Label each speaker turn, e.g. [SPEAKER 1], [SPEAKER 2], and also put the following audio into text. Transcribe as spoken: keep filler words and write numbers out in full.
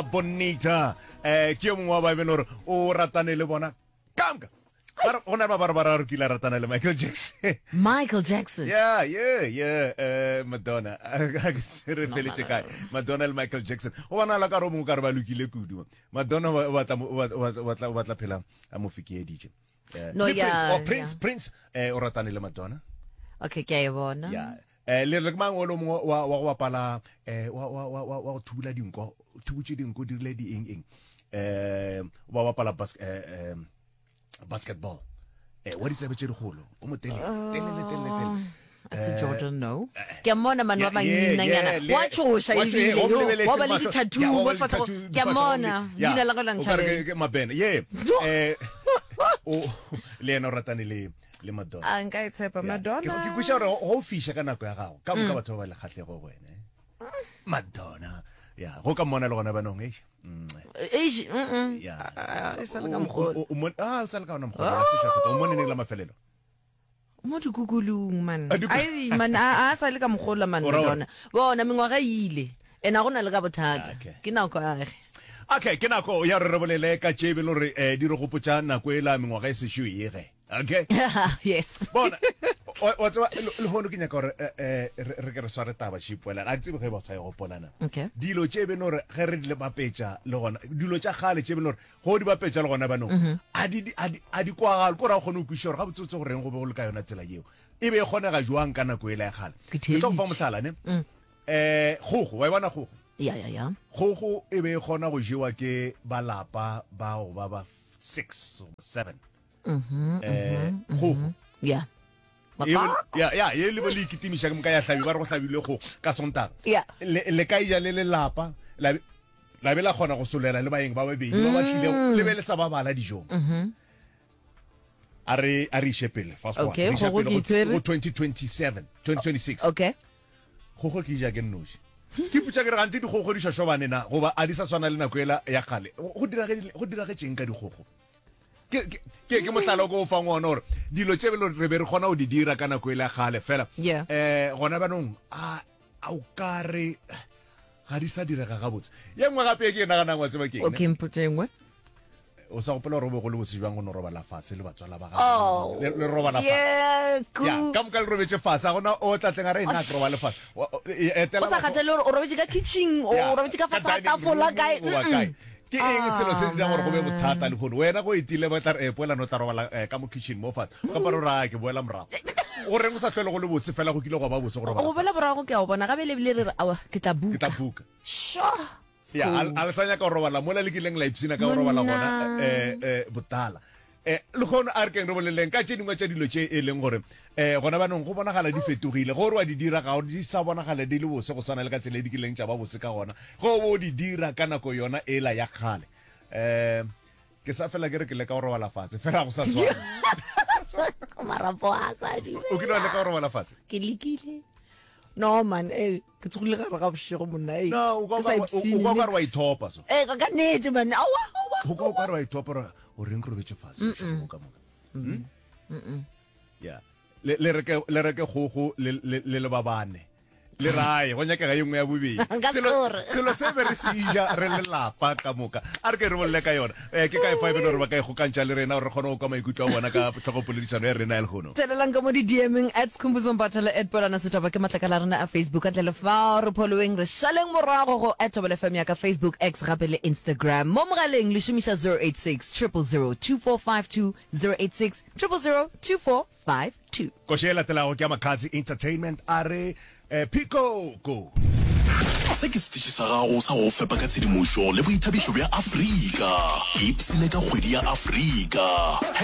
[SPEAKER 1] Bonita eh ke yo mongwe wa ba e beng gore o ratane le bona kamka Ba re- go na le ba ba re ba re kile a ratana le Michael Jackson.
[SPEAKER 2] Michael Jackson.
[SPEAKER 1] Yeah, yeah, yeah, eh Madonna. Ga ke se re feletše kae. Madonna le Michael Jackson. Go bonala ka re o mongwe ka re ba lokile kudu. Madonna o batla o batla o batla o batla phela a mo fekeeditše. Eh,
[SPEAKER 2] No,
[SPEAKER 1] le Prince,
[SPEAKER 2] yeah,
[SPEAKER 1] oh, Prince,
[SPEAKER 2] yeah.
[SPEAKER 1] Prince eh o ratane le Madonna.
[SPEAKER 2] Okay, ke a e bona.
[SPEAKER 1] Yeah. Eh le re ke mang o le mongwe wa wa go bapala eh wa wa wa wa wa go thubula dinko, thubutše dinko dirile di eng eng. Eh ba bapala bas eh, eh basketball. Eh wa ditsebe tše dikgolo, o mo telele, telele telele telele.
[SPEAKER 2] A se Jordan no. Ke a mmona man wa
[SPEAKER 1] Yeah, yeah,
[SPEAKER 2] banginanyana.
[SPEAKER 1] yeah, le-
[SPEAKER 2] Wa tšhoša
[SPEAKER 1] wa tšho-
[SPEAKER 2] ebile,
[SPEAKER 1] eh, o mo
[SPEAKER 2] yo.
[SPEAKER 1] lebeletše
[SPEAKER 2] Wa ba le
[SPEAKER 1] mahlo.
[SPEAKER 2] di-tattoo
[SPEAKER 1] Yeah, wa
[SPEAKER 2] mo
[SPEAKER 1] ba le
[SPEAKER 2] sefahlego.
[SPEAKER 1] di-tattoo
[SPEAKER 2] Ke a mmona.
[SPEAKER 1] difahlego. Yeah.
[SPEAKER 2] Leina la gagwe la
[SPEAKER 1] O ka re
[SPEAKER 2] ntšhabela.
[SPEAKER 1] ke- ke Mabene. Yeah. Eh o le yena o ratane le le Madonna.
[SPEAKER 3] A nka e tshepa
[SPEAKER 1] Yeah.
[SPEAKER 3] Madonna.
[SPEAKER 1] Ke ke kweša gore go o fiša ka nako ya gago ka moka batho ba ba le kgahlego go wena eh. Madonna ya go ka mmona le gona banong eish Mm,
[SPEAKER 2] Eish, mm, mm.
[SPEAKER 1] ya
[SPEAKER 3] Ah, e sa le ka
[SPEAKER 1] O-
[SPEAKER 3] mokgwa
[SPEAKER 1] o- o- o mon- ah, o sa le ka ona mokgwa o se feta o mone neng la mafelelo
[SPEAKER 3] Mo dikukulung man.
[SPEAKER 1] A diku-
[SPEAKER 3] Ai man a a sa le ka mokgola man
[SPEAKER 1] O ra gore?
[SPEAKER 3] Madonna.
[SPEAKER 2] Bona mengwaga e ile. Ene a go na le ka bothata.
[SPEAKER 1] Okay.
[SPEAKER 2] Ke nako ya gage.
[SPEAKER 1] Okay, ke nako ya gore re bolele ka tše e be le gore eh, di re gopotša nako e la mengwaga e sešo ege. Okay.
[SPEAKER 2] Yes.
[SPEAKER 1] Bona, wa wa tseba le- lehono ke nyaka gore eh, eh, re re ke re sware taba šipoelana a ke tsebe ge ba sa e gopolana.
[SPEAKER 2] Okay.
[SPEAKER 1] Dilo tše e be le gore ge re di le bapetša le gona dilo tša kgale tše e be le gore go di bapetša le gona banong a di a di a di kwagale ko ra o kgone go kwešiša gore gabotsebotse go reng go be go le ka yona tsela yeo e be e kgonega jwang ka nako e la ya kgale.
[SPEAKER 2] Ke
[SPEAKER 1] Ke tlo go fa
[SPEAKER 2] theeditše.
[SPEAKER 1] mohlala ne eh kgogo wa e bona kgogo.
[SPEAKER 2] Ya ya ya.
[SPEAKER 1] Kgogo e be e kgona go jewa ke balapa bao ba ba six goba seven. Eh, kgogo.
[SPEAKER 2] Yeah.
[SPEAKER 1] E be- ya ya ye le bo le ikitimiša ke moka ya hlabi ba re go hlabilwe kgogo ka Sontaga.
[SPEAKER 2] Yeah.
[SPEAKER 1] Le le ka ija le lelapa la be- la be la kgona go solela le baeng ba babedi ba ba tlilego le be le sa ba bala dijong. A re a re iše pele fast forward.
[SPEAKER 3] Okay,
[SPEAKER 1] Re iša
[SPEAKER 3] kgogo
[SPEAKER 1] pele
[SPEAKER 3] ke
[SPEAKER 1] go-
[SPEAKER 3] itshwere.
[SPEAKER 1] go twenty twenty-seven, twenty twenty-six.
[SPEAKER 2] Okay.
[SPEAKER 1] Kgogo ke ja ke nnoši. Ke putša ke re gantsi dikgogo di šošobane na goba a di sa swana le nako ela ya kgale. Go dirage go diragetšeng ka dikgogo? Ke ke ke ke mohlala o ko o fang ona gore dilo tše belo re be re kgona go di dira ka nako ela ya kgale fela.
[SPEAKER 2] Yeah.
[SPEAKER 1] Eh gona banong a a o ka re ga di sa direga gabotse. Ye nngwe gape e ke e naganang wa tseba ke eng, ne?
[SPEAKER 3] Okay, mpotše e nngwe.
[SPEAKER 1] O sa gopola gore o be go le bose jwang go no robala fatshe le batswala ba gago.
[SPEAKER 2] Oh.
[SPEAKER 1] Le le robala fatshe.
[SPEAKER 2] Yeah,
[SPEAKER 1] Ya,
[SPEAKER 2] cool.
[SPEAKER 1] ka moka le robetse fatshe a gona o tla tleng a re nna ke robale fatshe. Wa- o- e- etela
[SPEAKER 2] O sa
[SPEAKER 1] batho-
[SPEAKER 2] kgathale gore o robetse ka kitchen, o
[SPEAKER 1] Ya,
[SPEAKER 2] robetse ka fase ga
[SPEAKER 1] dining
[SPEAKER 2] tafola
[SPEAKER 1] room,
[SPEAKER 2] kae.
[SPEAKER 1] goba
[SPEAKER 2] Mm-mm.
[SPEAKER 1] kae. Ke eng selo se se dirang gore go be
[SPEAKER 2] Ah,
[SPEAKER 1] bothata lehono? Wena go etile ba tla re eh, poelano o tla robala eh, ka mo kitchen mo fatshe. O ka para o re, "Ah, ke boela morago." Go reng o sa hlwele go le botse fela go kile gwa ba botse go robala
[SPEAKER 2] Go boela
[SPEAKER 1] fatshe?
[SPEAKER 2] morago ke a o bona gabe le ebile re re awa ke tla
[SPEAKER 1] Ke
[SPEAKER 2] buka.
[SPEAKER 1] tla buka.
[SPEAKER 2] Sure.
[SPEAKER 1] Ya, a a le sa nyaka go robala mola le kileng la ipshina ka go robala gona eh eh botala. Eh lehono a re keng re boleleng ka tše dingwe tša dilo tše e leng gore eh gona banong go bonagala di fetogile gore wa di dira ga di sa bonagala di le bose go swana le ka tsela e di kileng tša ba bose ka gona go bo di dira ka nako yona ela ya kgale. Eh ke sa fela ke re ke leka go robala fatshe fela go sa swana.
[SPEAKER 2] Marapo a sa dumela.
[SPEAKER 1] O kile wa leka go robala fatshe?
[SPEAKER 2] Ke lekile.
[SPEAKER 3] No man, eh ke tsogile gare ga bošego monna eh.
[SPEAKER 1] No, o kwa
[SPEAKER 3] Ke sa
[SPEAKER 1] o
[SPEAKER 3] ipshine
[SPEAKER 1] kwa o ka re wa
[SPEAKER 3] niks.
[SPEAKER 1] ithopa so.
[SPEAKER 2] Eh ka nnete man. Awa awa.
[SPEAKER 1] Go kwa o ka re wa ithopa gore o reng ke robetse fatshe bošego ka moka. Hmm? Ya. Le le reke le reke kgogo le le le le ba bane. Le rae go nyakega ye nngwe ya bobedi.
[SPEAKER 2] Nka
[SPEAKER 1] Selo
[SPEAKER 2] score.
[SPEAKER 1] selo se be re se ja re le lapa ka moka. A re ke re bolele ka yona. Eh ke ka e fa e be le gore ba ka ikgokantšha le rena gore re kgone go kwa maikutlo a bona ka tlhogopoledišano ya rena ya lehono.
[SPEAKER 2] Tselelang ka mo di-D M-eng at Skhumbuzo Mbatha at Polana Setšhaba ke matlakala a rena a Facebook. Ka ntle le fao re following re šaleng morago go at Thobela F M ya ka Facebook, X gape le Instagram. Mo mogaleng le šomiša zero eight six zero zero zero two four five two, zero eight six zero zero zero two four five two.
[SPEAKER 1] Koše e latelago ke ya Makhadzi Entertainment a re eh, Pico go.
[SPEAKER 4] Se ke setiši sa gago sa go fepa ka tshedimošo le boithabišo bja Afrika. Ipsene ka kgwedi ya Afrika.